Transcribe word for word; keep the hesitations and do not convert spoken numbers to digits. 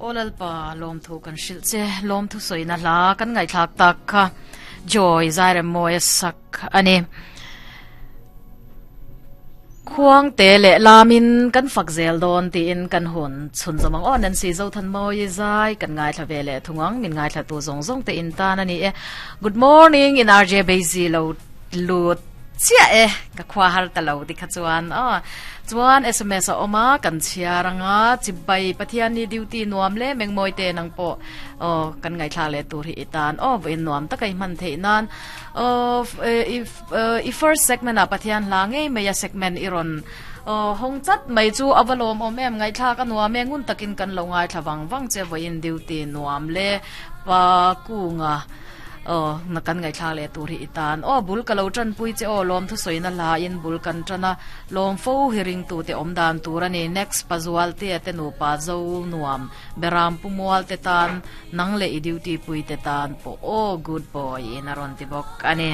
Olal pa lom thu kan hril che lom thu soina hla kan ngai thlak tak kha joy zaire moi sak ani khuang te le lamin kan fak zel don ti in kan hun chun zamang on an si zo than moi zai kan ngai thla ve le thungang min ngai thla tu zong zong te in ta na ni e. Good morning in R J Bezi lo lut chia e ka khwa har ta lo ti kha chuan a chuan S M S a oma kan chiaranga chibai pathian ni duty nuam le mengmoi te nang po o kan ngai thla le tur hi itan o voin nuam takai man thei nan o if i first segment a pathian la ngei meya segment iron o hong chat mai chu avalom om em ngai thla ka nuam e ngun takin kan lo ngai thla wang wang che voin duty nuam le pa kunga o na kan ngai thla le tur hi itan o bul ka lo tran pui che o lom thu soina la in bul kan trana lom fo hiring tu te om dan tur ani next pazual te te nu pa zo nuam beram pumual te tan nang le i duty pui te tan po o good boy in aron ti bok ani.